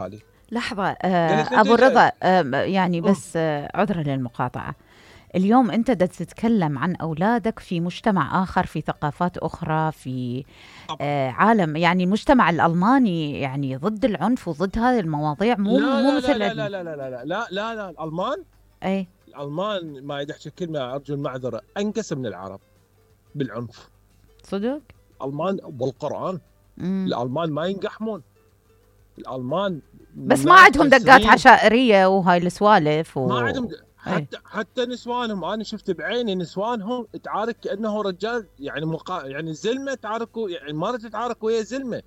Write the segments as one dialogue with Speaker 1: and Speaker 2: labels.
Speaker 1: علي.
Speaker 2: لحظة،
Speaker 1: قالت لي
Speaker 2: أبو
Speaker 1: انت
Speaker 2: رضا، يعني
Speaker 1: أم،
Speaker 2: بس عذرا للمقاطعة. اليوم أنت دا تتكلم عن أولادك في مجتمع آخر، في ثقافات أخرى، في
Speaker 1: طبعا.
Speaker 2: عالم، يعني المجتمع الألماني يعني ضد العنف وضد هذه المواضيع، مو
Speaker 1: لا
Speaker 2: مو
Speaker 1: لا
Speaker 2: مثل
Speaker 1: لا لا لا
Speaker 2: عندنا.
Speaker 1: لا لا لا لا لا لا الالمان.
Speaker 2: أي.
Speaker 1: الالمان ما يدحش كلمه، ارجو المعذره، انقص من العرب بالعنف.
Speaker 2: صدق.
Speaker 1: الالمان والقران.
Speaker 2: مم.
Speaker 1: الالمان ما ينقحمون. الالمان
Speaker 2: بس ما
Speaker 1: مئات
Speaker 2: عندهم دقات
Speaker 1: السنين
Speaker 2: عشائرية وهاي السوالف
Speaker 1: ما عندهم
Speaker 2: أي.
Speaker 1: حتى نسوانهم، انا شفت بعيني نسوانهم تعارك كانه رجال، يعني يعني زلمه تعاركوا، يعني مرة تتعارك ويا زلمه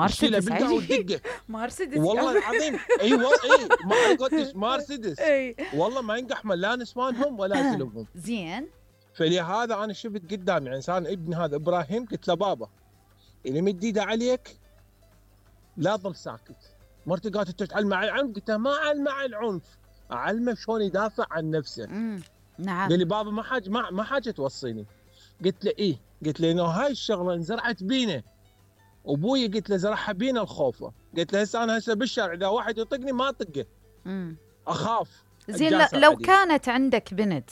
Speaker 1: تشيلها
Speaker 2: مرسيدس
Speaker 1: بالقاع
Speaker 2: عيني.
Speaker 1: وتدقه.
Speaker 2: مرسيدس يا
Speaker 1: والله العظيم اي اي ما على قولتش مرسيدس.
Speaker 2: أي.
Speaker 1: والله ما ينقحمل لا نسوانهم ولا زلمهم.
Speaker 2: زين.
Speaker 1: فلهذا انا شفت قدامي يعني انسان ابني هذا ابراهيم، قلت له بابا اللي مد ايده عليك لا ظل ساكت. مرتي قالت انت تعلمه على العنف، قلت له ما اعلمه على العنف، اعلمه شلون يدافع عن نفسه.
Speaker 2: نعم.
Speaker 1: قال لي بابا ما حاجه توصيني. قلت له ايه، قلت له انه هاي الشغله انزرعت بينا، ابوي قلت له زرعها بينا الخوفه. قلت له هسه انا بالشارع اذا واحد يطقني ما اطقه،
Speaker 2: مم.
Speaker 1: اخاف
Speaker 2: زين،
Speaker 1: اتجاسر
Speaker 2: لو
Speaker 1: عليه.
Speaker 2: كانت عندك بنت،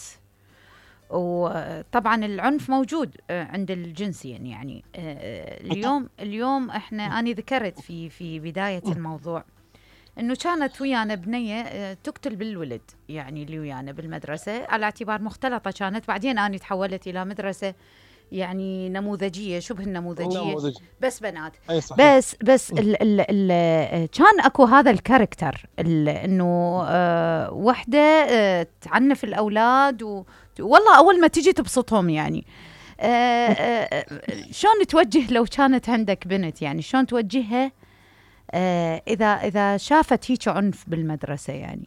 Speaker 2: وطبعا العنف موجود عند الجنسين، يعني اليوم احنا، انا ذكرت في بداية الموضوع انه كانت ويانا بنية تقتل بالولد، يعني اللي ويانا بالمدرسة، على اعتبار مختلطة كانت. بعدين انا تحولت الى مدرسة يعني نموذجية، شبه النموذجية،
Speaker 1: نموذج.
Speaker 2: بس بنات.
Speaker 1: اي صحيح.
Speaker 2: بس كان اكو هذا الكاركتر، انه وحده تعنف الاولاد، والله اول ما تجي تبسطهم يعني. شلون توجه لو كانت عندك بنت، يعني شلون توجهها اذا شافت هيك عنف بالمدرسه؟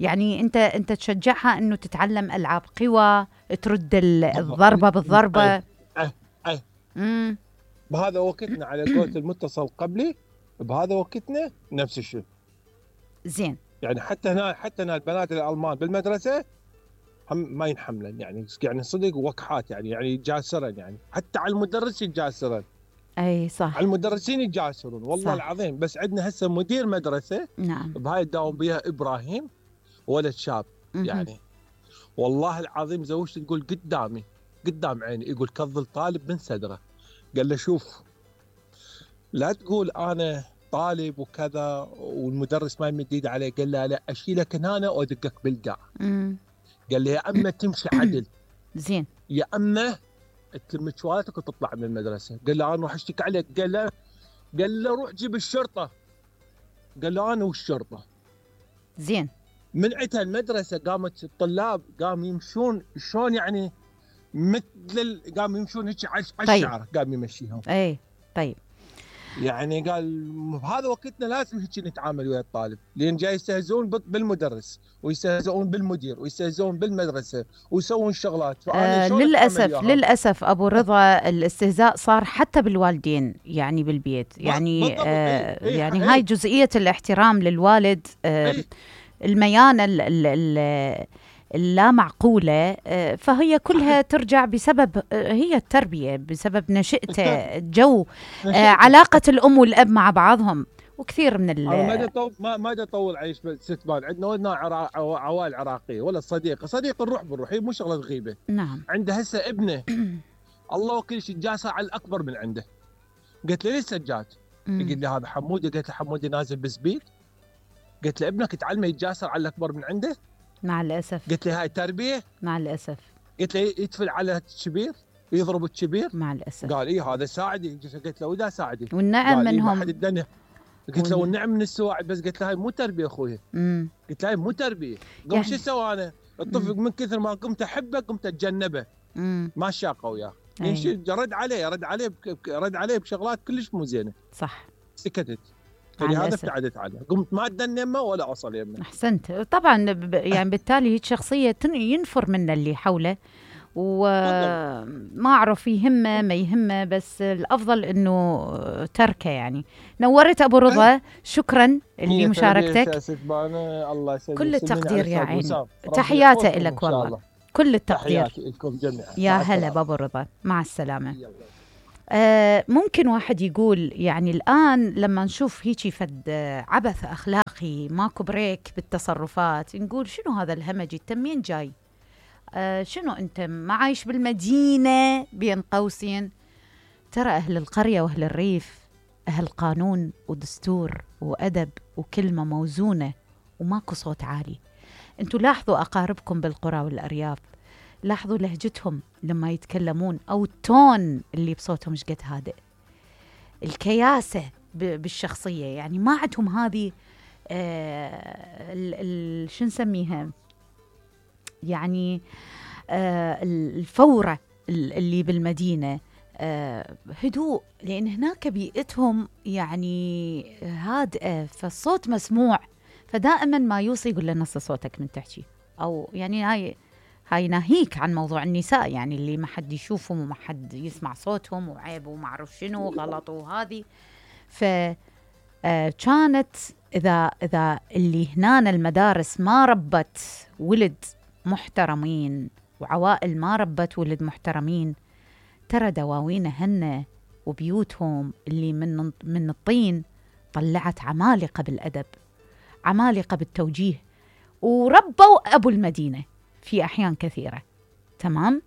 Speaker 2: يعني انت تشجعها انه تتعلم العاب قوى، ترد الضربه
Speaker 1: اي
Speaker 2: بالضربه.
Speaker 1: اي اي
Speaker 2: امم.
Speaker 1: بهذا وقتنا على قولة المتصل قبلي، بهذا وقتنا نفس الشيء.
Speaker 2: زين.
Speaker 1: يعني حتى هنا البنات الالمان بالمدرسه هم ما ينحملن، يعني صدق وقحات، يعني يتجاسرن، يعني حتى على المدرس يتجاسرن،
Speaker 2: اي
Speaker 1: على
Speaker 2: صح.
Speaker 1: المدرسين يتجاسرون والله
Speaker 2: صح.
Speaker 1: العظيم. بس عندنا هسه مدير مدرسه
Speaker 2: نعم.
Speaker 1: بهاي تداوم بها ابراهيم، ولد شاب
Speaker 2: مهم.
Speaker 1: يعني. والله العظيم زوجتي تقول قدامي قدام عيني، يقول كظل طالب من صدره. قال له شوف، لا تقول انا طالب وكذا والمدرس ما يمد ايده عليه. قال له لا، اشيلك هنا وادقك بالقاع.
Speaker 2: مم.
Speaker 1: قال له يا اما تمشي عدل،
Speaker 2: زين.
Speaker 1: يا اما تلم شوالتك وتطلع من المدرسه. قال له انا راح اشتكي عليك. قال له روح جيب الشرطه. قال له انا والشرطه.
Speaker 2: زين.
Speaker 1: منعتها المدرسه، قامت الطلاب قاموا يمشون شلون يعني، قاموا يمشون هيك على
Speaker 2: طيب.
Speaker 1: الشعر، قام يمشيهم.
Speaker 2: اي. طيب.
Speaker 1: يعني قال بهذا وقتنا لازم هيك نتعامل ويا الطالب، لان جاي يستهزئون بالمدرس ويستهزئون بالمدير ويستهزئون بالمدرسه ويسوون شغلات، فانا شلون اتعامل
Speaker 2: للأسف
Speaker 1: وياهم؟
Speaker 2: للأسف أبو رضا، الاستهزاء صار حتى بالوالدين، يعني بالبيت، يعني
Speaker 1: بالضبط. اي
Speaker 2: يعني هاي
Speaker 1: اي
Speaker 2: جزئية الاحترام للوالد،
Speaker 1: اي
Speaker 2: الميانة اللا معقولة، فهي كلها
Speaker 1: صحيح.
Speaker 2: ترجع بسبب هي التربية، بسبب نشأته، الجو،
Speaker 1: نشأته.
Speaker 2: علاقة الأم والأب مع بعضهم، وكثير من
Speaker 1: انا ما ادري اطول عيش ستبان. عندنا ولدنا عوائل عراقيه، ولا صديق نروح بنروح، هي مو شغله غيبه.
Speaker 2: نعم.
Speaker 1: عنده هسه ابنه الله وكيل شيء جاسر على الاكبر من عنده. قلت له ليش سجاد؟ يقول لي هذا حمودي. قلت له حمودي نازل بسبيد؟ قلت له ابنك تعلمه يتجاسر على الاكبر من عنده؟
Speaker 2: مع الأسف.
Speaker 1: قلت له هاي تربيه؟
Speaker 2: مع الأسف.
Speaker 1: قلت له يتفل على الكبير، يضرب الكبير؟
Speaker 2: مع الأسف.
Speaker 1: قال اي هذا ساعدي. قلت له واذا ساعدي؟
Speaker 2: والنعم
Speaker 1: قال اي ما حد
Speaker 2: منهم.
Speaker 1: اداني. قلت له والنعم من السواعد، بس قلت له هاي مو تربيه اخوي. قلت له هاي مو تربيه. قام شو
Speaker 2: يعني.
Speaker 1: سوى انا؟ الطفل من كثر ما قمت احبه قمت اتجنبه، ما شاقه وياه.
Speaker 2: أي.
Speaker 1: رد عليه بشغلات كلش مو زينه.
Speaker 2: صح.
Speaker 1: سكتت.
Speaker 2: مع
Speaker 1: فلهذا
Speaker 2: الأسف.
Speaker 1: ابتعدت عنه، قمت ما ادن يمه ولا اوصل يمه.
Speaker 2: أحسنت. طبعا يعني بالتالي هيك شخصية ينفر من اللي حوله،
Speaker 1: بالضبط.
Speaker 2: وما أعرف يهمه ما يهمه، بس الأفضل أنه تركه. يعني نورت أبو رضا، شكرا
Speaker 1: هي
Speaker 2: لمشاركتك.
Speaker 1: تربيه ستبانه. الله يسلمك.
Speaker 2: كل
Speaker 1: سلمين على
Speaker 2: التقدير يا
Speaker 1: الاستاذ
Speaker 2: عيني،
Speaker 1: وسام، ربي
Speaker 2: تحياتي
Speaker 1: يحفظكم ان
Speaker 2: لك
Speaker 1: شاء
Speaker 2: والله،
Speaker 1: الله.
Speaker 2: كل التقدير.
Speaker 1: تحياتي لكم جميعا،
Speaker 2: يا
Speaker 1: مع
Speaker 2: هلا
Speaker 1: السلامه.
Speaker 2: بابو رضا، مع السلامة.
Speaker 1: يلا.
Speaker 2: ممكن واحد يقول يعني الآن لما نشوف هيجي فد عبث أخلاقي ماكو بريك بالتصرفات، نقول شنو هذا الهمجي؟ انت منين جاي؟ شنو انت ما عايش بالمدينة بين قوسين؟ ترى أهل القرية وأهل الريف أهل قانون ودستور وأدب وكلمة موزونة وماكو صوت عالي. انتوا لاحظوا أقاربكم بالقرى والأرياف، لاحظوا لهجتهم لما يتكلمون أو التون اللي بصوتهم مش قد هادئ، الكياسة بالشخصية، يعني ما عندهم هذه شو نسميها يعني الفورة اللي بالمدينة. هدوء، لأن هناك بيئتهم يعني هادئة، فالصوت مسموع، فدائما ما يوصي يقول له نص صوتك من تحكي، أو يعني هاي ناهيك عن موضوع النساء، يعني اللي ما حد يشوفهم وما حد يسمع صوتهم وعيب وما أعرف شنو غلط وهذه. كانت إذا اللي هنا المدارس ما ربت ولد محترمين وعوائل ما ربت ولد محترمين، ترى دواوين هن وبيوتهم اللي من الطين طلعت عمالقة بالأدب، عمالقة بالتوجيه، وربوا أبو المدينة في أحيان كثيرة. تمام؟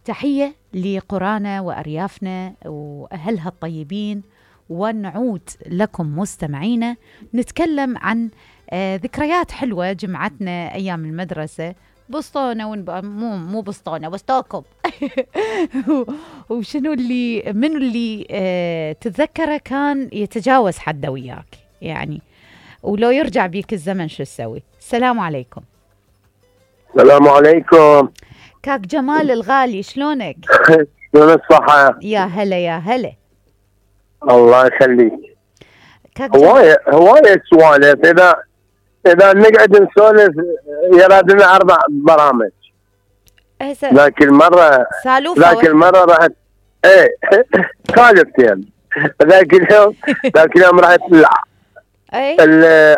Speaker 2: تحية لقرانا وأريافنا وأهلها الطيبين، ونعود لكم مستمعينا نتكلم عن ذكريات حلوة جمعتنا أيام المدرسة، بسطونة مو بسطونة بسطوكم وشنو اللي من اللي تتذكره كان يتجاوز حده وياك يعني، ولو يرجع بيك الزمن شو تسوي؟ السلام عليكم.
Speaker 3: السلام عليكم
Speaker 2: كاك جمال الغالي، شلونك؟
Speaker 3: شلون الصحة؟
Speaker 2: يا هلا يا هلا.
Speaker 3: الله يخليك. هواية سوالف، إذا نقعد نسولف يرادنا 4 برامج. ذاك المرة رحت سالفتين. ذاك اليوم رحت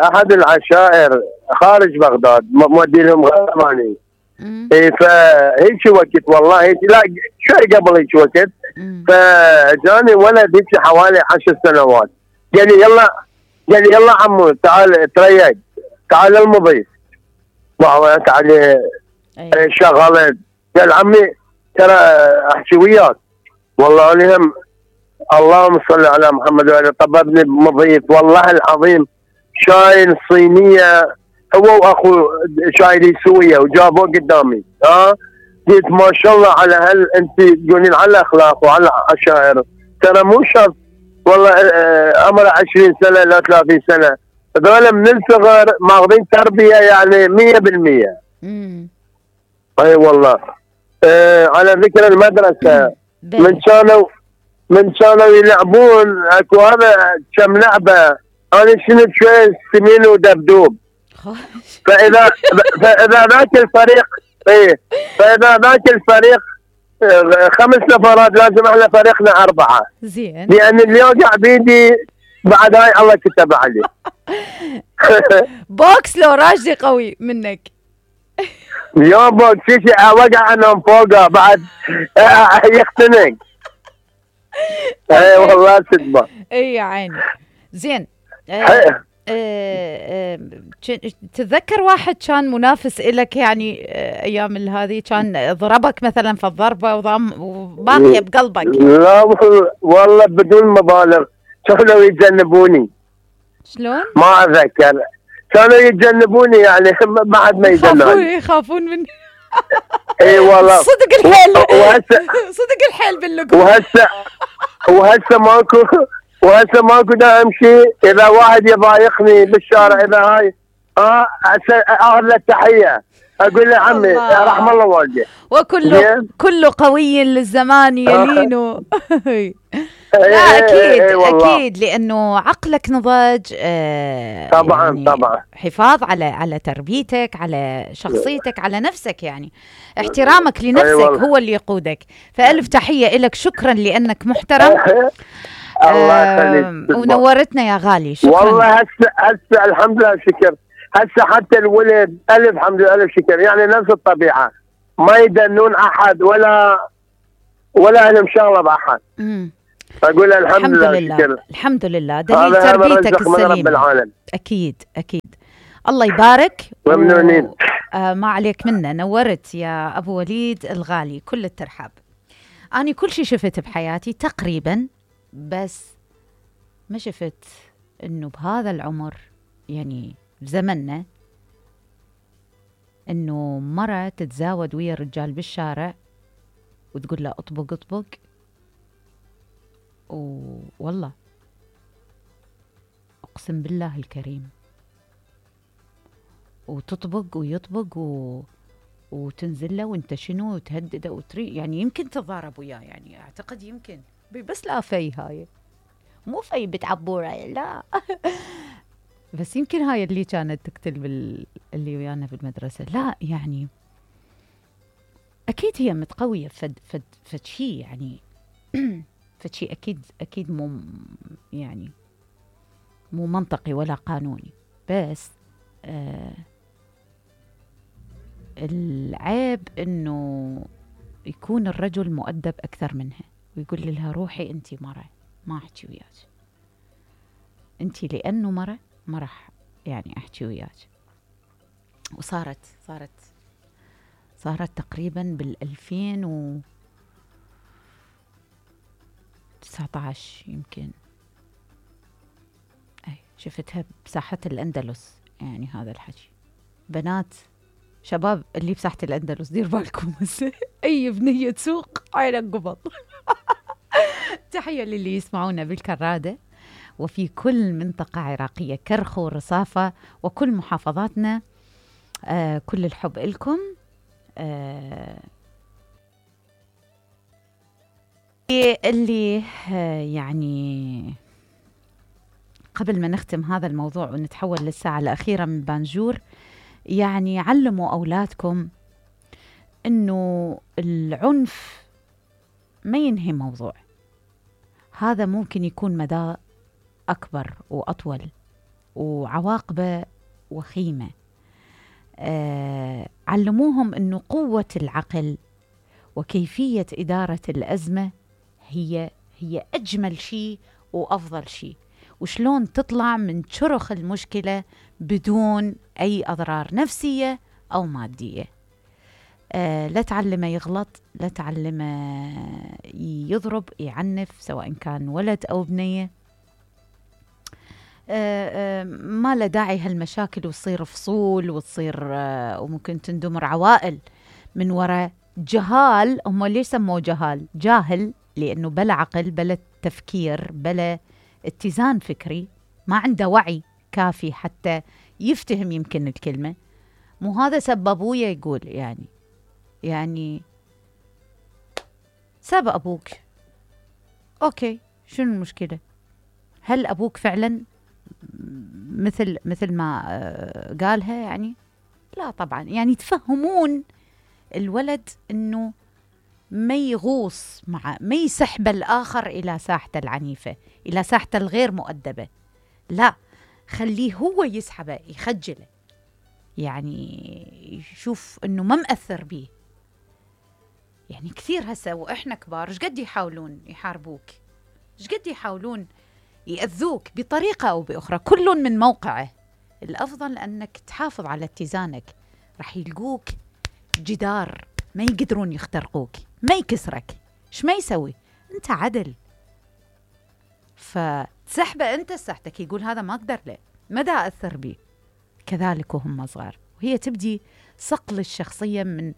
Speaker 3: أحد العشائر خارج بغداد، مودي لهم غرماني. فهيك وقت والله لا شوي قبل هيك وقت، فجاني ولد هيك حوالي 10 سنوات، قال لي يلا عمو تعال تريق، تعال المضيف. تعال شغلت، قال عمي ترى احكي وياك. والله لهم اللهم صل على محمد وعلى، طببني بمضيف والله العظيم، شايل صينيه هو واخو شايلين سويه وجابوه قدامي. قلت ما شاء الله على انت تقولين على الاخلاق وعلى العشائر، ترى مو شرط والله عمره 20 سنه لا 30 سنه، هذول من الصغر ماخذين تربيه يعني 100%. اي والله. على ذكر المدرسه، من كانوا يلعبون اكو هذا كم لعبه، انا شنو شوي سمين ودبدوب. فاذا ذاك الفريق فاذا ذاك الفريق 5 نفرات، لازم احنا فريقنا 4
Speaker 2: زين،
Speaker 3: لان اللي يوقع بيدي بعد هاي الله كتب عليه.
Speaker 2: بوكس لو راشدي قوي منك.
Speaker 3: يا بوكس شيء وقع انهم فوقه بعد يختنق. اي والله صدمه.
Speaker 2: اي يا عيني. زين. تتذكر واحد كان منافس إلك يعني أيام هذه، كان ضربك مثلا في الضربة وباقية بقلبك؟
Speaker 3: لا والله بدون مبالغ، كانوا يتجنبوني.
Speaker 2: شلون؟
Speaker 3: ما أتذكر، كانوا يتجنبوني يعني بعد ما
Speaker 2: يخافون مني.
Speaker 3: اي والله
Speaker 2: صدق الحيل. صدق الحيل باللقمة.
Speaker 3: وهسه ماكو دا امشي، اذا واحد يضايقني بالشارع اذا هاي اخذ له التحيه، اقول له عمي رحم الله والديك،
Speaker 2: كل قوي للزمان يلينه. لا اكيد لانه عقلك نضج.
Speaker 3: طبعا
Speaker 2: يعني
Speaker 3: طبعا.
Speaker 2: حفاظ على تربيتك، على شخصيتك، على نفسك، يعني احترامك لنفسك هو اللي يقودك. فالف تحيه لك، شكرا لانك محترم.
Speaker 3: الله يخليك
Speaker 2: ونورتنا يا غالي، شكرا
Speaker 3: والله. هسه الحمد لله شكر، هسه حتى الولد الف الحمد لله الف شكر، يعني نفس الطبيعه، ما يدنون احد ولا لهم شغله باحد. اقول الحمد لله.
Speaker 2: شكرا. الحمد لله، دليل تربيتك السليمة. اكيد اكيد. الله يبارك.
Speaker 3: ممنونين.
Speaker 2: ما عليك منا، نورت يا ابو وليد الغالي، كل الترحاب. اني كل شيء شفت بحياتي تقريبا، بس ما شفت انه بهذا العمر يعني بزمننا انه مرة تتزاود ويا الرجال بالشارع وتقول له اطبق اطبق، والله اقسم بالله الكريم، وتطبق ويطبق وتنزل له وانت شنو وتهدده وتري، يعني يمكن تتضارب وياه، يعني اعتقد يمكن، بس لا في هاي مو في بتعبوره لا بس يمكن هاي اللي كانت تقتل اللي ويانا بالمدرسة. لا يعني أكيد هي متقوية فد شيء يعني فد شيء أكيد مو يعني مو منطقي ولا قانوني، بس العيب إنه يكون الرجل مؤدب أكثر منها ويقول لها روحي أنتي مرة ما أحكي وياك، أنتي لأنه مرة ما راح يعني أحكي وياك. وصارت تقريبا بال2019 يمكن، أي شفتها بساحة الأندلس. يعني هذا الحكي بنات شباب اللي بساحة الأندلس دير بالكم أي بنية سوق عينك قبض تحية للي يسمعونا بالكرادة وفي كل منطقة عراقية، كرخو ورصافة وكل محافظاتنا. كل الحب لكم. اللي يعني قبل ما نختم هذا الموضوع ونتحول للساعة الأخيرة من بانجور، يعني علموا أولادكم إنه العنف ما ينهي موضوع، هذا ممكن يكون مدى أكبر وأطول وعواقبه وخيمة. علموهم أنه قوة العقل وكيفية إدارة الأزمة هي أجمل شيء وأفضل شيء، وشلون تطلع من شرخ المشكلة بدون أي أضرار نفسية أو مادية. لا تعلمه يغلط، لا تعلمه يضرب يعنف، سواء كان ولد أو بنية. ما له داعي هالمشاكل وتصير فصول وتصير وممكن تندمر عوائل من وراء جهال. هم ليش سموه جاهل؟ لأنه بلا عقل، بلا تفكير، بلا اتزان فكري، ما عنده وعي كافي حتى يفتهم يمكن الكلمة. مو هذا سببوه يقول يعني ساب أبوك، أوكي شنو المشكلة؟ هل أبوك فعلا مثل ما قالها؟ يعني لا طبعا. يعني تفهمون الولد انه ما يغوص ما يسحب الآخر إلى ساحته العنيفة، إلى ساحته الغير مؤدبة، لا خليه هو يسحبه يخجله، يعني يشوف انه ما مأثر بيه. يعني كثير هسه وإحنا كبار ايش قد يحاولون يحاربوك، ايش قد يحاولون يأذوك بطريقة أو بأخرى، كل من موقعه. الأفضل أنك تحافظ على اتزانك، رح يلقوك جدار ما يقدرون يخترقوك، ما يكسرك. ايش ما يسوي؟ أنت عدل، فتسحبه أنت سحتك، يقول هذا ما أقدر له، مدى أثر بي. كذلك وهم صغار، وهي تبدي صقل الشخصية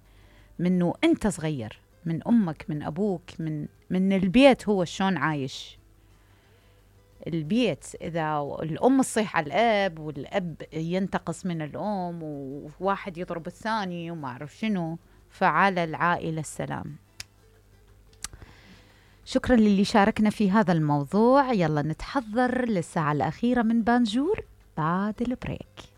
Speaker 2: منه أنت صغير، من أمك، من أبوك، من البيت. هو شلون عايش البيت؟ إذا الأم تصيح على الأب والأب ينتقص من الأم وواحد يضرب الثاني وما أعرف شنو، فعلى العائلة السلام. شكرا للي شاركنا في هذا الموضوع. يلا نتحضر للساعة الأخيرة من بانجور بعد البريك.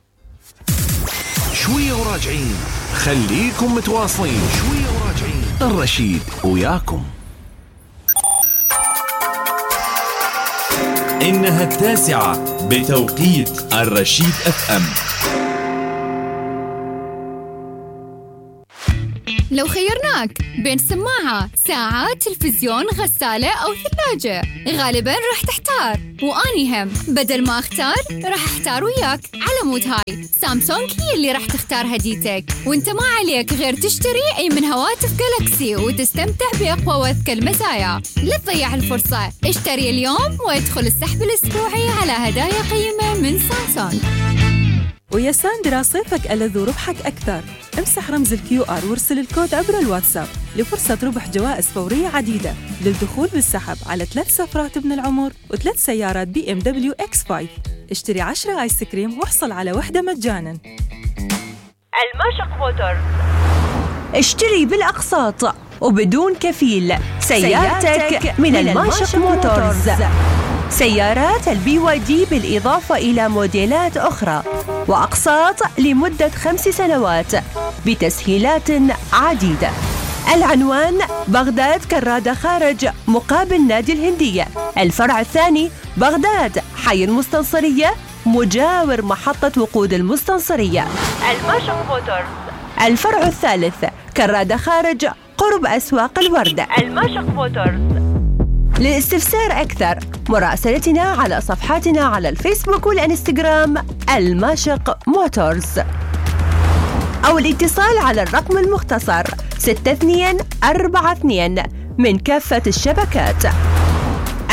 Speaker 4: شوية وراجعين، خليكم متواصلين. شوية وراجعين، الرشيد وياكم. إنها 9 بتوقيت الرشيد FM.
Speaker 5: لو خيرناك بين سماعة، ساعة، تلفزيون، غسالة أو ثلاجة، غالباً راح تحتار. وأني هم بدل ما أختار راح أحتار وياك. على مود هاي سامسونج هي اللي راح تختار هديتك، وانت ما عليك غير تشتري أي من هواتف جالاكسي وتستمتع بأقوى وأذكى المزايا. لا تضيع الفرصة، اشتري اليوم وادخل السحب الأسبوعي على هدايا قيمة من سامسونج.
Speaker 6: ويا ساندرا صيفك ألذ وربحك أكثر. امسح رمز الQR وارسل الكود عبر الواتساب لفرصة ربح جوائز فورية عديدة للدخول بالسحب على 3 سفرات ابن العمر و3 سيارات BMW X5. اشتري 10 آيس كريم واحصل على واحدة مجاناً.
Speaker 7: الماشق موتورز.
Speaker 8: اشتري بالأقساط وبدون كفيل سيارتك من الماشق موتورز. سيارات الBYD بالإضافة إلى موديلات أخرى وأقساط لمدة 5 سنوات بتسهيلات عديدة. العنوان بغداد كرادة خارج مقابل نادي الهندية. الفرع الثاني بغداد حي المستنصرية مجاور محطة وقود المستنصرية.
Speaker 7: الماشق موتورز.
Speaker 8: الفرع الثالث كرادة خارج قرب أسواق الوردة.
Speaker 7: الماشق موتورز.
Speaker 8: للاستفسار أكثر مراسلتنا على صفحاتنا على الفيسبوك والإنستغرام الماشق موتورز، أو الاتصال على الرقم المختصر 6242 من كافة الشبكات.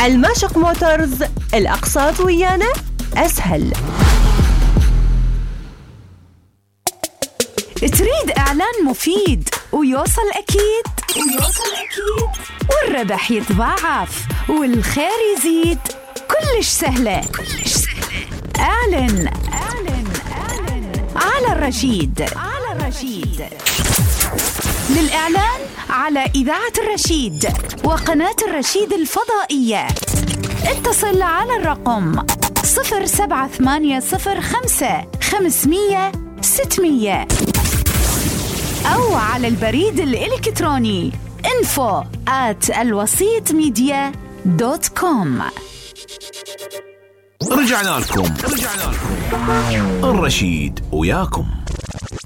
Speaker 8: الماشق موتورز، الأقساط ويانا أسهل.
Speaker 9: تريد إعلان مفيد ويوصل أكيد والربح يتضاعف والخير يزيد؟ كلش سهلة. اعلن على الرشيد. للإعلان على إذاعة الرشيد وقناة الرشيد الفضائية اتصل على الرقم 07805 500 600 أو على البريد الإلكتروني info@alwasitmedia.com.
Speaker 4: رجعنا لكم الرشيد وياكم.